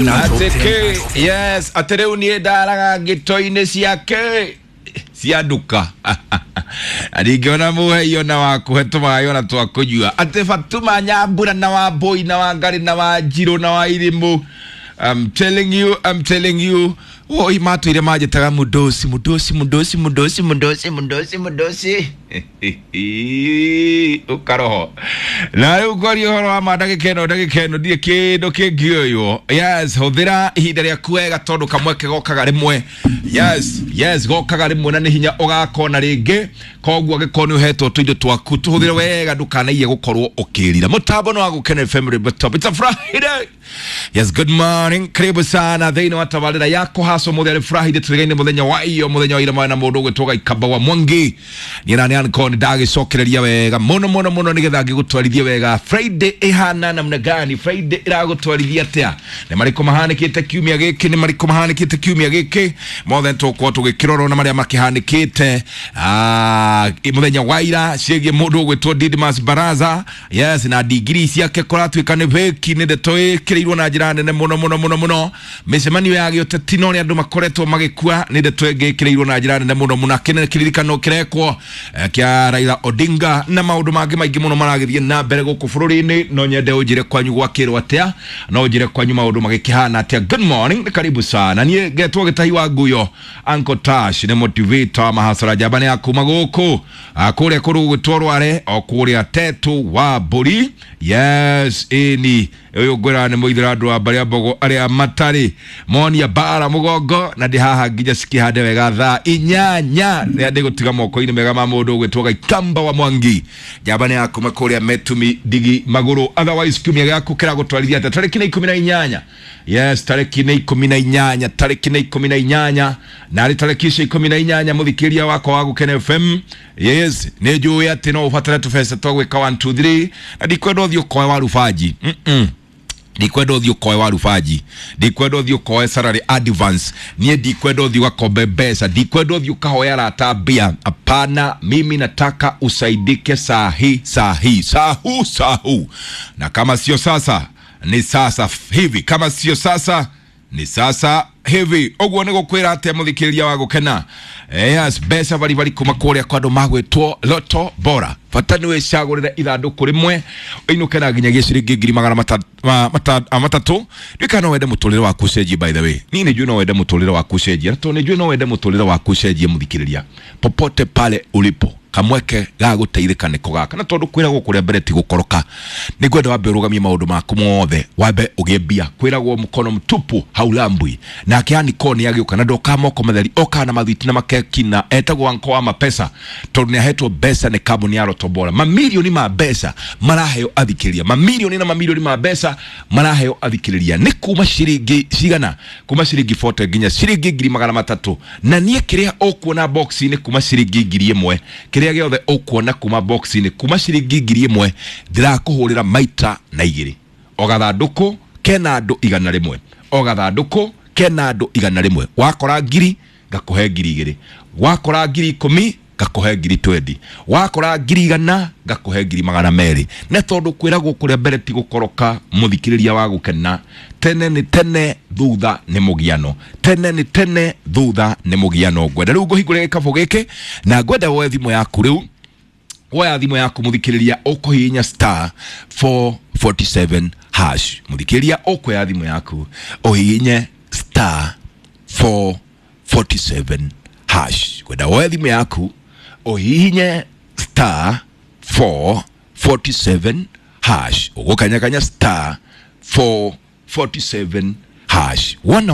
Atĩkĩ yes, atĩ rĩu niĩ ndaraga ngĩto-inĩ ciake cia nduka na ndingĩona mũhei ona wa kũhe tũmaĩ ona twa kũnyua. Atĩ Fatuma Nyambura na wa Mbũi na wa Ngarĩ na wa Njirũ na wa Irimũ, I'm telling you, I'm telling you, woi matũire manjĩtaga mũdosi mũdosi mũdosi mũdosi mũdosi mũdosi mũdosi ũkaroho. Na rĩu ngwaria ũhoro wa ma ndagĩka ĩno, ndagĩka ĩno ndirĩ kĩndũ kĩngĩoywo. Yes, hũthĩra ihinda rĩaku wega tondũ kamweke gokaga rĩmwe. Yes, yes, gokaga rĩmwe na nĩ hinya ũgakona rĩngĩ. Koguo angĩkorwo nĩ ũhetwo tũindo twaku tũhũthĩre wega, ndũkanaiye gũkorwo ũkĩrira. Mũtambo nĩ wa Gũkena FM Top. It's a Friday. Yes, good morning. Karibu sana thĩinĩ wa tabarĩra ya kũhacwo mũthenya. Nĩ Friday, tũrĩgaine mũthenya wa iyo, mũthenya wa ira mwana mũndũ ũgwĩtwo Gaikamba wa Mwangi. Niĩ na nĩ anko nĩ ndagĩcokereria wega mũno mũno mũno nĩgetha ngĩgũtwarithie wega. Friday ĩhana namna gani? Friday ĩragũtwarithia atĩa? Nĩ marĩkũ mahanĩkĩte kiumia gĩkĩ? Nĩ marĩkũ mahanĩkĩte kiumia gĩkĩ? Mothe tũgũkorwo tũgĩkĩrora na marĩa makĩhanĩkĩte mũthenya wa ira ciĩgiĩ mũndũ ũgwĩtwo Didmas Baraza. Yes, na ndigiri ciake kũratuĩka nĩ fake, nĩ ndeto ĩkĩrĩirwo na njĩra nene mũno mũno mũno mũno. Mĩcemanio ya gĩũteti na ũrĩa andũ makoretwo magĩkua nĩ ndeto ĩngĩ ĩkĩrĩirwo na njĩra nene mũno mũno. Kĩnene kĩririkano kĩrekwo kĩa Raila Odinga na maũndũ mangĩ maingĩ mũno maragĩthiĩ na mbere gũkũ bũrũri-inĩ. No nyende ũnjĩre kwanyu gwakĩrwo atĩa, no ũnjĩre kwanyu maũndũ magĩkĩhana atĩa. Good morning, nĩ karibu sana. Niĩ ngetwo Gĩtahi wa Nguyo, Uncle Tash nĩ motivator mahasara njamba nĩ ya kuma gũkũ kũrĩa kũrũ gũgwĩtwo Rware o kũrĩa Tetu wa Mbũri. Yes, ĩni ũyũ ngwĩra nĩ mũithĩra andũ a mbarĩ a Mbogo arĩa matarĩ monia mbara mũgongo, na ndĩ haha nginya cikĩhande wega thaa 8 rĩrĩa ndĩgũtiga moko-inĩ mega ma mũndũ ũgwĩtwo Gaikamba wa Mwangi, njamba nĩ ya kuma kũrĩa Metumi Ndigi Magũrũ. Otherwise kiumia gĩaku kĩragũtwarithia atĩa? Tarĩki nĩ 18. Yes, tarĩki nĩ 18, tarĩki nĩ 18, na arĩ tarĩki icio 18 mũthikĩria wakwa wa Gũkena FM. Yes, nĩ njũĩ atĩ no ũbatare tũbeca twa gwĩka 1 2 3, na ndikwenda ũthiĩ ũkoe wa rubanji. Ndikwenda ũthiĩ ũkoe wa rubanji, ndikwenda ũthiĩ ũkoe salary advance, niĩ ndikwenda ũthiĩ ũgakombe mbeca, ndikwenda ũthiĩ ũkahoya arata mbia. Hapana, mimi nataka usaidike sahi sahi sahu sahu, na kama sio sasa ni sasa hivi, kama sio sasa ni sasa hivi. Ũguo nĩ gũkwĩra atĩa mũthikĩrĩria wa Gũkena? Yes, mbeca baribari kuma kũrĩa kwa andũ magwĩtwo Loto Bora. Bata nĩ wĩcagũrĩre ithandũkũ rĩmwe ũinũke na nginyagia ciringi ngiri magana 300. Ndiũĩ no wende mũtũrĩre waku ũcenjie. By the way, niĩ nĩ njũĩ no wende mũtũrĩre waku ũcenjie, na tondũ nĩ njũĩ no wende mũtũrĩre waku ũcenjie, mũthikĩrĩria, popote pale ulipo, kamweke ga gũteithĩka nĩko gaka. Na tondũ kwĩragwo kũrĩa mbere ti gũkoroka, nĩ ngwenda wambe ũrũgamie maũndũ maku mothe, wambe ũgĩe mbia. Kwĩragwo mkono mtupu haulambwi. Nake Aniko nĩ agĩũka na ndokaga moko matheri, okaga na mathwiti na makeki, na etagwo Anko wa Mapesa tondũ nĩ ahetwo mbeca nĩ kambuni ya Loto Bora. Mamirioni ma mbeca maraheo athikĩrĩria, mamirioni na mamirioni ma mbeca maraheo athikĩrĩria. Nĩ kuma ciringi cigana? Kuma ciringi 40 nginya ciringi ngiri magana matatũ. Na niĩ kĩrĩa ũkuona box-inĩ kuma ciringi 1000, kĩrĩa gĩothe ũkuona kuma box-inĩ kuma ciringi 1000, ndĩrakũhũrĩra maita na igĩrĩ. O gathandũkũ kena andũ 100, o gathandũkũ kena andũ 100. Wakora ngiri ngakũhe 2000, wakora 10,000 ngakũhe 20,000, wakora 100,000 ngakũhe 200,000. Na tondũ kwĩragwo kũrĩa mbere ti gũkoroka, mũthikĩrĩria wa Gũkena, tene nĩ tene thutha nĩ mũgiano, tene nĩ tene thutha nĩ mũgiano. Ngwenda rĩu ngũhingũre gĩkabũ gĩkĩ na ngwenda woe thimũ yaku. Rĩu woya thimũ yaku mũthikĩrĩria, ũkũhihinya star 447 hash. Mũthikĩrĩria, ũkuoya thimũ yaku ũhihinye star 447 hash. Kwenda woe thimũ yaku ũhihinye star 447 hash, ũgũkanyakanya star 447 hash. Wona.